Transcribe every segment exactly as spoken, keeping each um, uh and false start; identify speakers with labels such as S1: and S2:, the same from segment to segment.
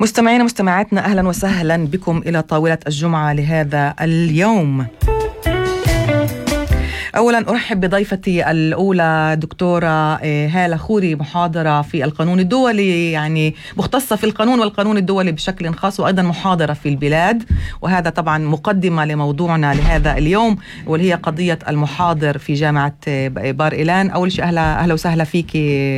S1: مستمعين ومستمعاتنا، أهلا وسهلا بكم إلى طاولة الجمعة لهذا اليوم. أولا أرحب بضيفتي الأولى دكتورة هالة خوري، محاضرة في القانون الدولي، يعني مختصة في القانون والقانون الدولي بشكل خاص، وأيضا محاضرة في البلاد. وهذا طبعا مقدمة لموضوعنا لهذا اليوم، واللي هي قضية المحاضر في جامعة بار إيلان. أول شيء أهلا أهلا وسهلا فيك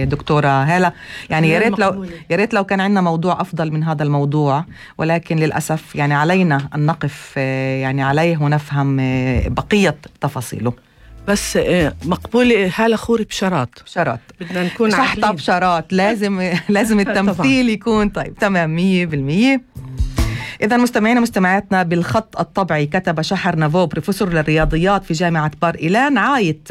S1: دكتورة هالة. يعني يا ريت لو يا ريت لو كان عندنا موضوع أفضل من هذا الموضوع، ولكن للأسف يعني علينا أن نقف يعني عليه ونفهم بقية تفاصيله.
S2: بس مقبولة هالة خوري بشرط
S1: بشرط
S2: بدنا نكون
S1: شحطة بشرط، لازم لازم التمثيل يكون طيب تمام مية بالمية. إذا مستمعينا مستمعاتنا، بالخط الطبعي كتب شحر نافو، بروفيسور للرياضيات في جامعة بار إيلان، عايت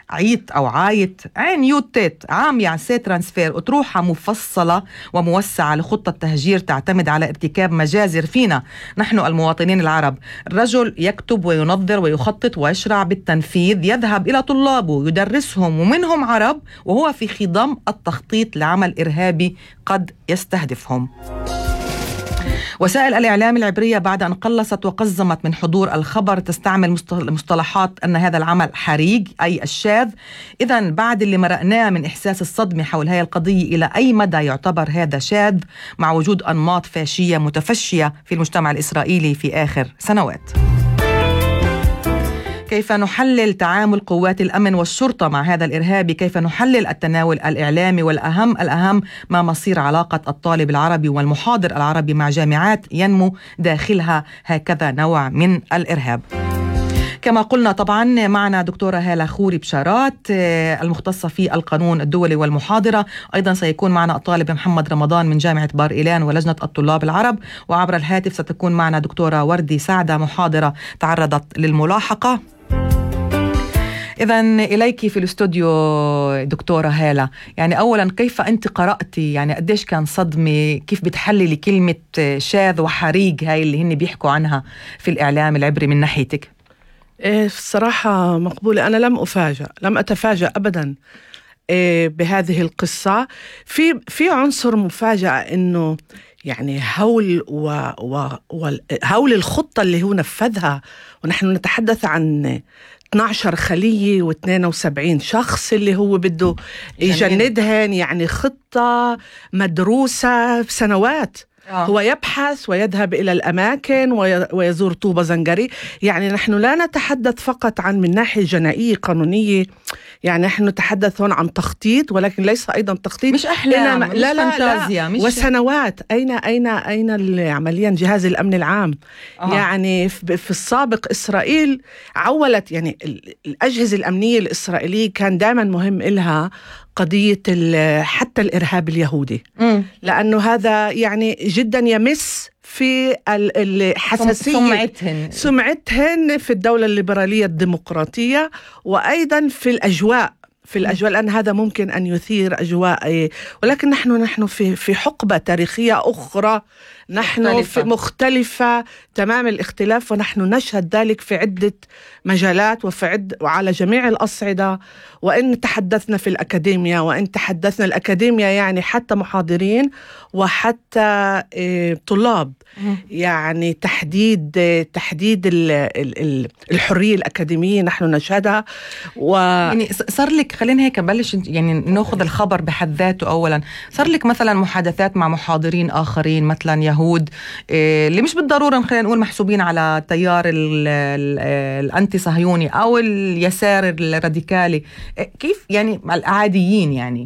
S1: عيت أو عايت عين يوتيت عام يعسي ترانسفير أطروحة مفصلة وموسعة لخطة تهجير تعتمد على ارتكاب مجازر فينا نحن المواطنين العرب. الرجل يكتب وينظر ويخطط ويشرع بالتنفيذ، يذهب إلى طلابه يدرسهم ومنهم عرب، وهو في خضم التخطيط لعمل إرهابي قد يستهدفهم. وسائل الإعلام العبرية بعد أن قلصت وقزمت من حضور الخبر تستعمل مصطلحات أن هذا العمل حريق، أي الشاذ. إذن بعد اللي مرقناه من إحساس الصدمة حول هذه القضية، إلى أي مدى يعتبر هذا شاذ مع وجود أنماط فاشية متفشية في المجتمع الإسرائيلي في آخر سنوات؟ كيف نحلل تعامل قوات الأمن والشرطة مع هذا الإرهابي؟ كيف نحلل التناول الإعلامي؟ والأهم الأهم ما مصير علاقة الطالب العربي والمحاضر العربي مع جامعات ينمو داخلها هكذا نوع من الإرهاب؟ كما قلنا طبعا معنا دكتورة هالة خوري بشارات المختصة في القانون الدولي والمحاضرة. أيضا سيكون معنا الطالب محمد رمضان من جامعة بار إيلان ولجنة الطلاب العرب. وعبر الهاتف ستكون معنا دكتورة وردي سعدة، محاضرة تعرضت للملاحقة. إذن إليك في الاستوديو دكتورة هالة، يعني أولا كيف أنت قرأتي، يعني قديش كان صدمة، كيف بتحللي كلمة شاذ وحريق هاي اللي هن بيحكوا عنها في الإعلام العبري من ناحيتك؟
S2: إيه الصراحة مقبولة، أنا لم أفاجأ لم أتفاجأ أبدا إيه بهذه القصة. في في عنصر مفاجأة إنه يعني هول و و هول الخطة اللي هو نفذها، ونحن نتحدث عن اثني عشر خلية واثنين وسبعين شخص اللي هو بده يجندهن، يعني خطة مدروسة بسنوات. آه. هو يبحث ويذهب إلى الأماكن ويزور طوبة زنجري. يعني نحن لا نتحدث فقط عن من ناحية جنائية قانونية، يعني نحن نتحدث هون عن تخطيط، ولكن ليس أيضا تخطيط
S1: مش أحلام، مش
S2: لا لا
S1: فانتازيا،
S2: لا
S1: مش
S2: وسنوات. أين أين أين عمليا جهاز الأمن العام؟ آه. يعني في السابق إسرائيل عولت، يعني الأجهزة الأمنية الإسرائيلية كان دائما مهم إلها قضية حتى الإرهاب اليهودي، م. لأنه هذا يعني جدا يمس في الحساسية
S1: سمعتهن
S2: سمعتهن في الدولة الليبرالية الديمقراطية، وأيضا في الأجواء في الأجواء لأن هذا ممكن أن يثير أجواء. ولكن نحن نحن في في حقبة تاريخية أخرى، نحن مختلفة. في مختلفة تمام الاختلاف، ونحن نشهد ذلك في عدة مجالات وفي عد وعلى جميع الأصعدة. وإن تحدثنا في الأكاديمية وإن تحدثنا الأكاديمية يعني حتى محاضرين وحتى طلاب، يعني تحديد تحديد الحرية الأكاديمية نحن نشهدها. و
S1: يعني صار لك، خلينا هيك نبلش يعني ناخذ الخبر بحد ذاته. أولا صار لك مثلا محادثات مع محاضرين آخرين مثلا يهود اللي مش بالضرورة خلينا نقول محسوبين على تيار الأنتي صهيوني أو اليسار الراديكالي، كيف يعني العاديين، يعني